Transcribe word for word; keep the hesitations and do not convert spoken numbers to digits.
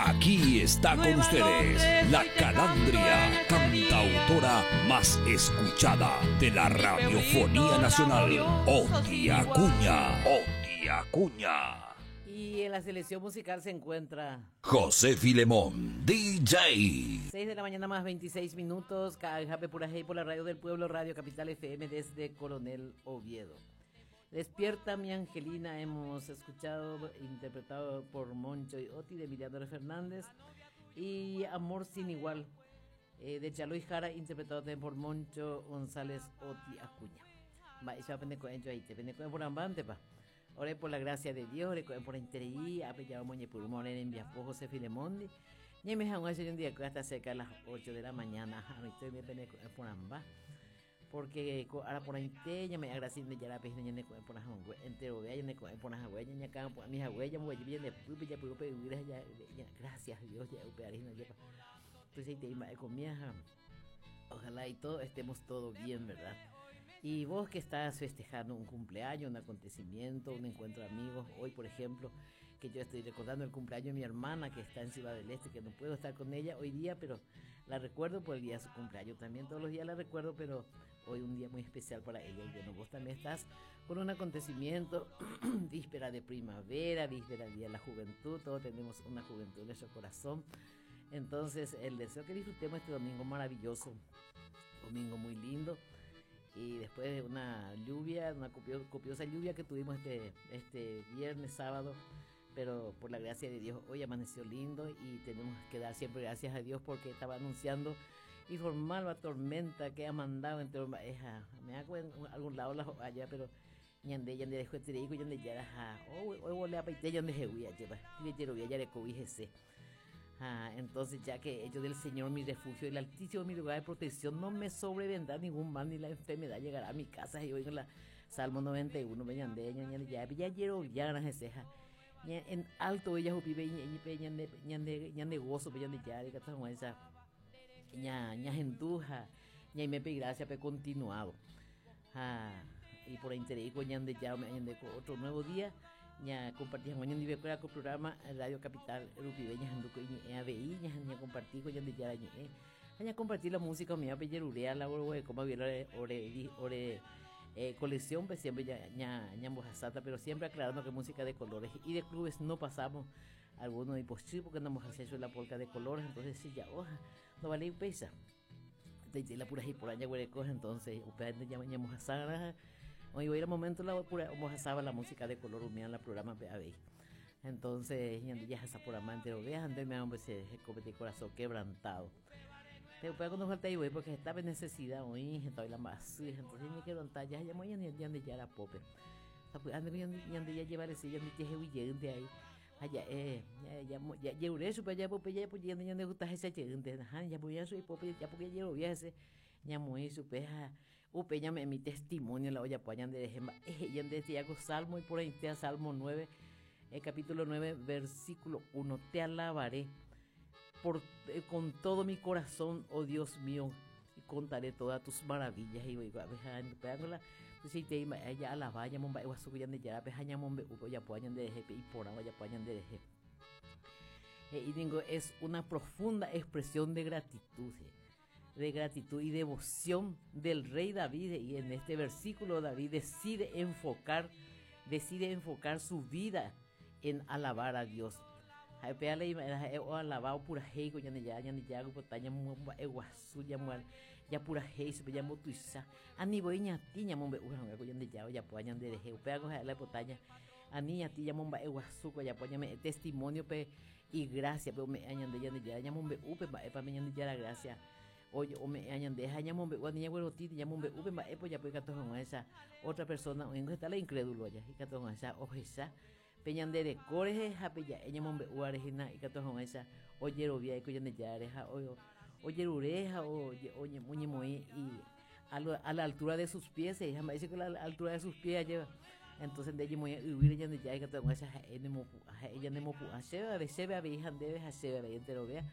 Aquí está con ustedes la Calandria, cantautora más escuchada de la radiofonía nacional, Oti Acuña. Oti Acuña. Y en la selección musical se encuentra José Filemón, D J. seis de la mañana más veintiséis minutos, K J P Purajey por la radio del pueblo, Radio Capital F M desde Coronel Oviedo. Despierta mi Angelina, hemos escuchado, interpretado por Moncho y Oti de Emiliano Fernández, y Amor sin igual, eh, de Chalo y Jara, interpretado también por Moncho González Oti Acuña. Va, y se va a aprender con ello ahí, te aprende con por ambante, pa. Ore por la gracia de Dios, ore por interí, ape ya moñe por humor en viapo José Filemón. Y me han hecho un día que hasta cerca de las ocho de la mañana, a mí estoy bien pene por amba. Porque ahora por ahí te ya me agradecen de ya la pena ya ne por la entero vea ya ne por la huella ya acá por mis huellas muy bien de pupe ya pupe ya, ya gracias a Dios ya upe arena ya. Entonces te iba a comer, ojalá y todo estemos todo bien, ¿verdad? Y vos que estás festejando un cumpleaños, un acontecimiento, un encuentro de amigos, hoy por ejemplo, que yo estoy recordando el cumpleaños de mi hermana que está en Ciudad del Este, que no puedo estar con ella hoy día, pero la recuerdo por el día de su cumpleaños también, todos los días la recuerdo, pero hoy un día muy especial para ella. Y bueno, vos también estás con un acontecimiento, víspera de primavera, víspera del Día de la Juventud, todos tenemos una juventud en nuestro corazón. Entonces, el deseo que disfrutemos este domingo maravilloso, domingo muy lindo, y después de una lluvia, una copio-, copiosa lluvia que tuvimos este, este viernes, sábado, pero por la gracia de Dios hoy amaneció lindo y tenemos que dar siempre gracias a Dios porque estaba anunciando y formar la tormenta que ha mandado entre esa, me hago en algún lado la allá, pero ñande, ñande dejó este rico, ñande ya era, ja, oh, hoy volé a paite, ñande jeguía, lleva, y le voy a ya le cobijese. Ah, entonces, ya que yo del Señor mi refugio, el Altísimo mi lugar de protección, no me sobrevendrá ningún mal ni la enfermedad llegará a mi casa. Y oigo la Salmo noventa y uno, me ñande, ñande, ya, ya quiero, ya, na, jeseja. Ña, en alto ella jupibe, ña, ña, pe, ñande, ñande, ñande gozo, pe, ñande ya, de cata, Juan, esa, ña, ña gentuja, ña y me pe gracia, pe continuado. Ah, y por interés, ñande ya, me, ñande otro nuevo día. Ña compartí, ña ñande ve con programa Radio Capital Rupibe, ña janduco, ña, ña veí, ña, ña compartí, ña ñande ya, ña, ña, ña compartí la música mía, pe yerurea, la ore, como había, ore, ore, di, ore, eh, colección, pues siempre ya, ña, ña mojasata, pero siempre aclarando que música de colores y de clubes no pasamos algunos y pues sí, porque no hemos hecho la polca de colores, entonces sí, ya, oja, no vale pesa. De, de la pura y por allá huele cosa, entonces, ustedes ya ña mojasara. Hoy voy a ir al momento la pura mojasaba la música de color humía en la programa B A B. Entonces, ña, ya esa por amante lo veas, antes me hombre se comete corazón quebrantado. Pero pues cuando falta ahí voy porque estaba en necesidad hoy, estaba en la más, entonces me quiero andar, ya ya voy a ya ya ya la pope. O sea, pues, ande, ya, ya, ya llevar ese, ya me dije, uy, ya, de ahí. Allá, eh, ya, ya, ya, ya, ya, eso, pues, ya, pues, ya, pues, ya, ya, ya, gusta ese, ya, ya, ajá, ya, pues, ya, soy pope, ya, porque ya llevo viaje, ya, muy, su, pues, ja, upe, ya me, mi testimonio, la olla, pues, ya, de, de, eh, ya, de, ya, hago Salmo, y por ahí está Salmo nueve, el capítulo nueve, versículo uno, te alabaré por, eh, con todo mi corazón, oh Dios mío, y contaré todas tus maravillas. Y voy a ver, ja, en pegándola, pues, si te iba, ya alabá, ya momba, iguazú, ya de ya, pues, ya mombe, upo, ya, pues, ya de jepe, y por agua, ya, pues, ya de jepe. Eh, y digo, es una profunda expresión de gratitud, eh, de gratitud y devoción del rey David. Y en este versículo David decide enfocar, decide enfocar su vida en alabar a Dios. Ay, pe, ale, ima, era, eh, o alabao pura hei, ko, ya ne, ya, ya ne, ya, ko, ta, ya, mu, mu, e, guasu, ya, mu, al, ya pura hei, su, pe, ya, mu, tu, isa. Ani, bo, iña, ti, ña, mu, be, uja, ko, ya ne, ya, o, ya, po, ya, ne, de, je, pe, hago, ja, la, po, ta, ya. Ani, ña, ti, ya, mu, ba, e, guasu, ko, ya, po, ya, me, testimonio, pe, y gracia, pe, o, me, aña, de, ya, ne, ya, ya, mu, be, u, pe, ba, e, pa, me, ya, ne, ya, la gracia. Oye, o me, aña, de, ja, ya, mu, be, u, ani, ya, güero, ti, ya, mu, be, u, pe, ba, e, po, ya, po, y, ka, to, ja, esa otra persona, o, en, está la incrédulo, ya, y, ka, to, ja, esa, o, esa, peñandere coreje, ja, pe, ya, ella, mombe, u, arejina, y, ka, to, ja, esa, oye, ro, via, y, ko, ya, ne, ya, areja, o, o, oye, rureja, o, ye, oye, oye, moe, y a lo, a la altura de sus pies, se llama, dice que la altura de sus pies lleva. Entonces, de ella, moe, y, huir, ella, ne, ya, y, ka, to, ja, esa, ja, ene, mo, pu, ja, ella, ne, mo, pu, ja, se, a, ve, se, ve, a, ve, hija, de, ja, se, ve, a, ve, entero, vea.